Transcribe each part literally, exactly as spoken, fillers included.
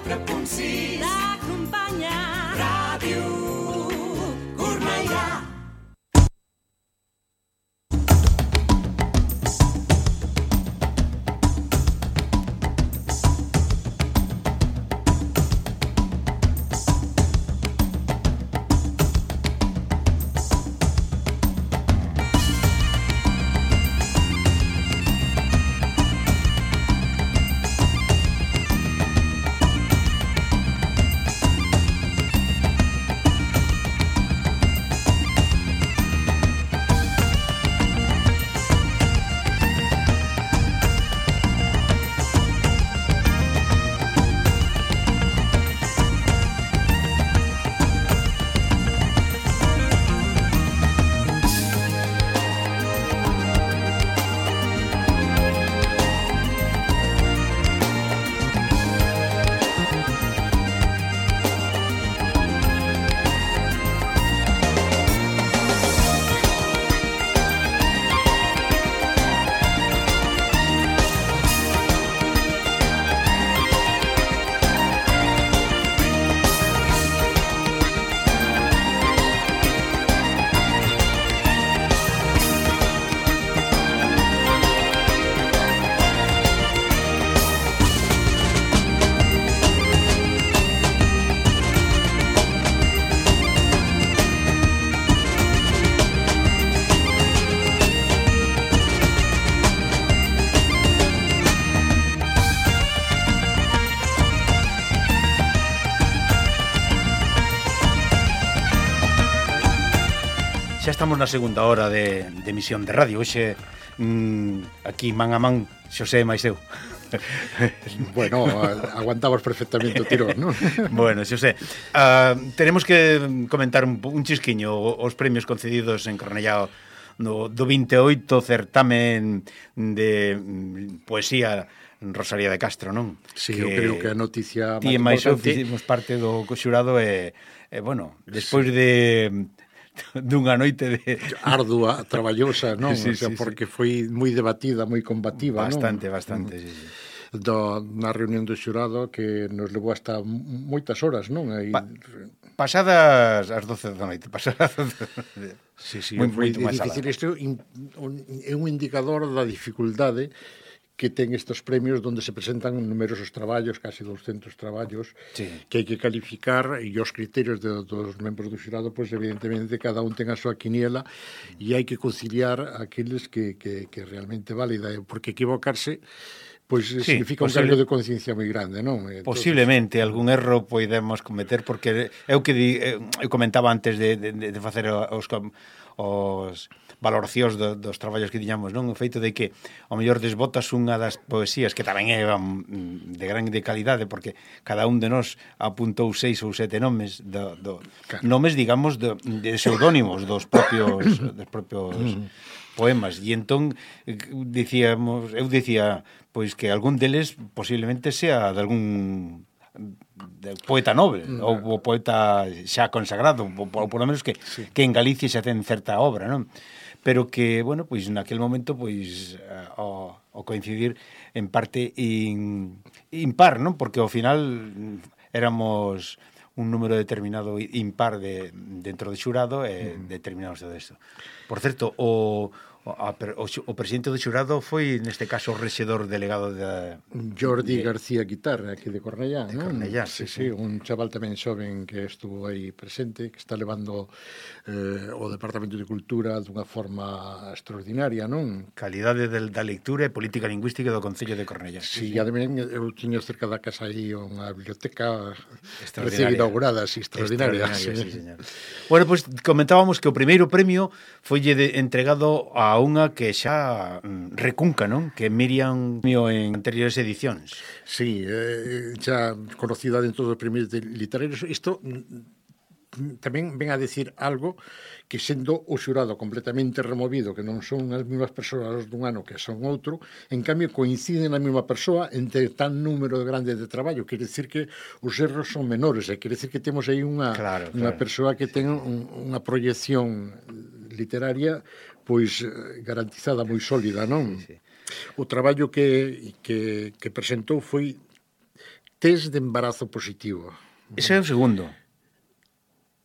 quatre punt sis t'acompanya Ràdio Cornellà. Xa estamos na segunda hora de, de emisión de radio. Hoxe, mmm, aquí, man a man, Xosé máis eu. Bueno, aguantamos perfectamente o tirón, non? Bueno, Xosé, uh, tenemos que comentar un, un chisquiño os premios concedidos en Cornellá no, do vinte e oito certamen de poesía Rosalía de Castro, non? Sí, que eu creo que a noticia ti máis eu fizemos parte do xurado e, e bueno, despois sí. de dunha noite de ardua, traballosa, non? Sí, o sea, sí, porque sí. foi moi debatida, moi combativa, bastante, non? Bastante, bastante, sí, sí. Do, na reunión do xurado que nos levou hasta moitas horas, non? Aí... Pa pasadas as doce da noite, pasadas sí, sí, moi, foi moi difícil. Isto é un indicador da dificultade que ten estes premios onde se presentan numerosos traballos, casi doscientos traballos, sí. que hai que calificar e os criterios de, dos membros do xurado, pois evidentemente cada un ten a súa quiniela e hai que conciliar aqueles que, que, que realmente válida, porque equivocarse pois sí, significa un cargo de conciencia moi grande, non? Entonces, posiblemente algún erro podemos cometer, porque eu que di, eu comentaba antes de, de, de facer os, os valoracións do, dos traballos que tiñamos, non? O feito de que ao mellor desbotas unha das poesías que tamén é de gran de calidade, porque cada un de nós apuntou seis ou sete nomes do, do claro. nomes, digamos, de, de pseudónimos dos propios dos propios poemas, e entón dicíamos, eu dicía pois que algún deles posiblemente sea de algún de poeta nobre, mm. ou, ou poeta xa consagrado, ou, ou por lo menos que, sí. que en Galicia xa ten certa obra, non? Pero que, bueno, pois naquel momento, pois, ao, ao coincidir en parte in, impar, non? Porque ao final éramos un número determinado impar de, dentro do xurado e mm. determinados de isto. Por certo, o... O, o, o presidente do xurado foi, neste caso, o rexedor delegado de... Jordi de, García Guitarra, aquí de Cornellá, de non? Cornellá, sí, sí, sí. sí, un chaval tamén xoven que estuvo aí presente, que está levando eh, o Departamento de Cultura dunha forma extraordinaria, non? Calidade de, da lectura e política lingüística do Concello de Cornellá. Sí, sí, sí. Ademais, eu tiño cerca da casa aí unha biblioteca recién inaugurada, así, extraordinaria. extraordinaria sí. Sí, señor. Bueno, pois pues, comentábamos que o primeiro premio foille de, entregado a unha que xa recunca, non? Que Miriam mío en anteriores edicións. Sí, eh, xa conocida dentro dos premios de literarios. Isto tamén ven a decir algo que sendo o xurado completamente removido, que non son as mesmas persoas dun ano que son outro, en cambio coinciden na mesma persoa entre tan número grande de traballo, quere decir que os erros son menores, e quere decir que temos aí unha, claro, claro. unha persoa que ten un, unha proyección literaria pois garantizada, moi sólida, non? Sí, sí. O traballo que, que, que presentou foi test de embarazo positivo. Ese é o segundo.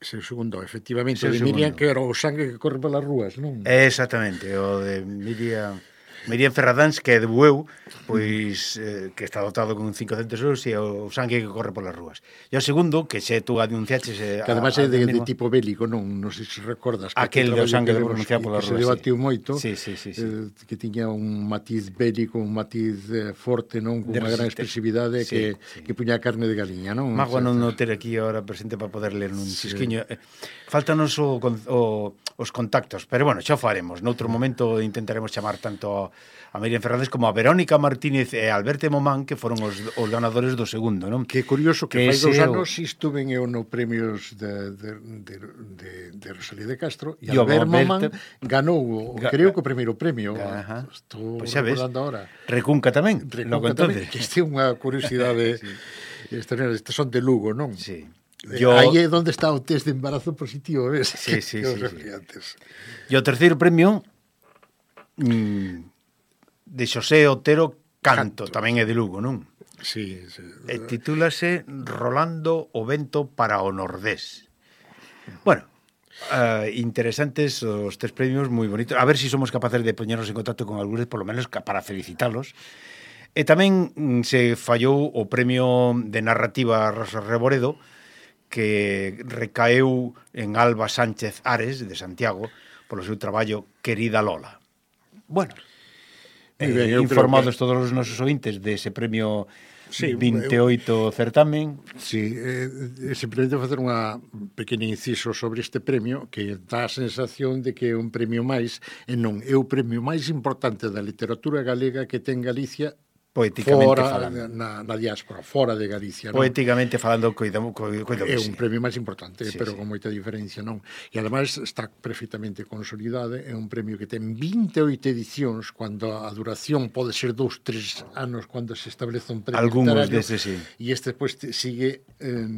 Ese é o segundo, efectivamente. Ese é o O de Miriam, segundo. que era o sangue que corre polas rúas, non? Exactamente, o de Miriam... Miriam Ferradáns, que é de Bueu, pois eh, que está dotado con cincocentos euros e o sangue que corre polas rúas. E o segundo, que xe tú anunciaches... Eh, Que además é de, de tipo bélico, non? Non sei se recordas. Que aquel do sangue de demos, pronunciar polas que rúas. se debatiu sí. moito, sí, sí, sí, sí. Eh, que tiña un matiz bélico, un matiz eh, forte, non? Con De unha gran resiste- expresividade sí, que, sí. que puña carne de galiña, non? Magua non Etcétera. no ter aquí ahora presente para poder ler un Sí. xisquiño. Eh, Faltanos o, con- o, os contactos, pero bueno, xa o faremos. Noutro momento intentaremos chamar tanto a Miriam Fernández como a Verónica Martínez e a Alberto Momán, que foron os, os ganadores do segundo, non? Que curioso que, Que fai dous ese é o- anos estuven eu no premios de, de, de, de, de Rosalía de Castro e E o Albert Alberto- Momán ganou, o, Ga- creo que o primeiro premio. Ajá. Estou Pois xa ves. recordando ahora. Recunca tamén. Recunca logo tamén, entonces. que este é unha curiosidade sí. extraordinaria. Estes son de Lugo, non? Sí. Yo... Yo... Aí é onde está o test de embarazo positivo, ves? Sí, sí, que sí, os sí. antes. E o terceiro premio mm, de Xosé Otero Canto, Canto. tamén é de Lugo, non? Sí, sí. E titúlase Rolando o vento para o Nordés. Bueno, uh, interesantes os tres premios, moi bonitos. A ver se si somos capaces de poñernos en contacto con algúns, por lo menos para felicitalos. E tamén mm, se fallou o premio de narrativa Rosa Reboredo, que recaeu en Alba Sánchez Ares, de Santiago, polo seu traballo Querida Lola. Bueno, Moi eh, ben, eu creo informados que- todos os nosos ointes dese premio Sí, vinte e oito certamen. Sí, eh, simplemente facer unha pequena inciso sobre este premio que dá a sensación de que é un premio máis e non é o premio máis importante da literatura galega que ten Galicia Poéticamente fora falando. na, na diáspora, fora de Galicia, non? Poéticamente falando, coidamos, coidamos, É un premio máis importante, Sí, pero sí. con moita diferencia, non? E ademais está perfectamente consolidado, é un premio que ten vinte e oito edicións, cando a duración pode ser dous, tres anos cando se establece un premio Algúns literario, deses, sí. e este pues, sigue eh,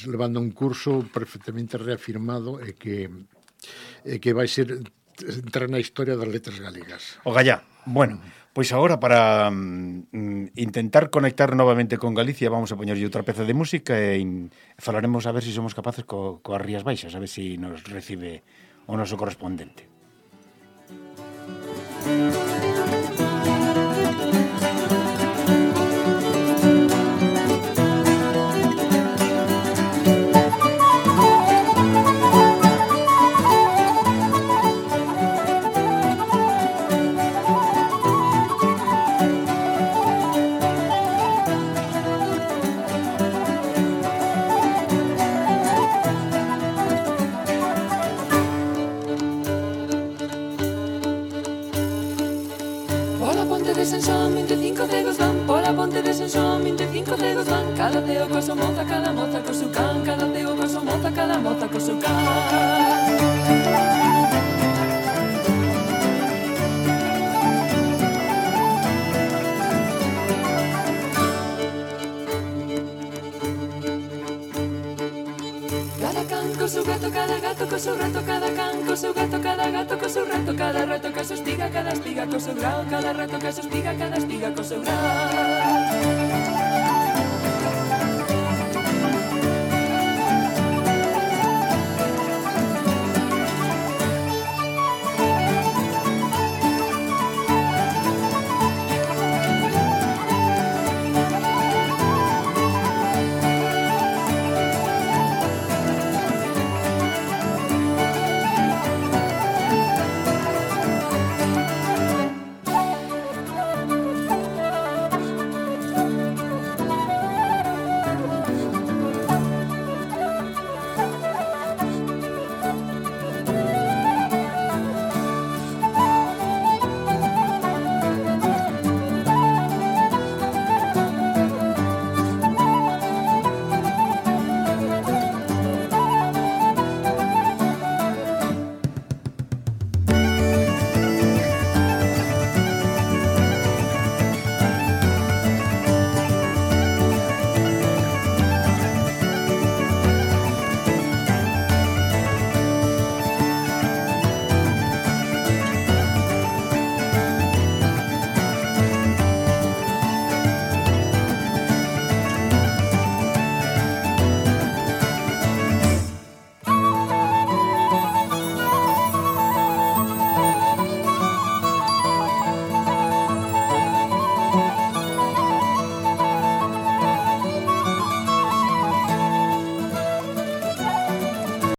levando un curso perfectamente reafirmado e que, e que vai ser entrar na historia das letras galegas. O Gallá. Bueno, pois agora para mm, intentar conectar novamente con Galicia vamos a poñerlle outra peza de música e in, falaremos a ver se si somos capaces co, coas Rías Baixas, a ver se si nos recibe o noso correspondente. Pola ponte de San Xoán vinte e cinco cegos van. Pola ponte de San Xoán vinte e cinco cegos van. Cada ceo co seu moza, cada moza co seu can. Cada ceo co seu moza, cada moza co seu can. Cada can co seu gato, cada gato co seu rato, cada can co seu gato, cada gato co seu rato, cada rato co seu espiga, cada espiga co seu grau, cada rato co seu espiga, cada espiga co seu grau.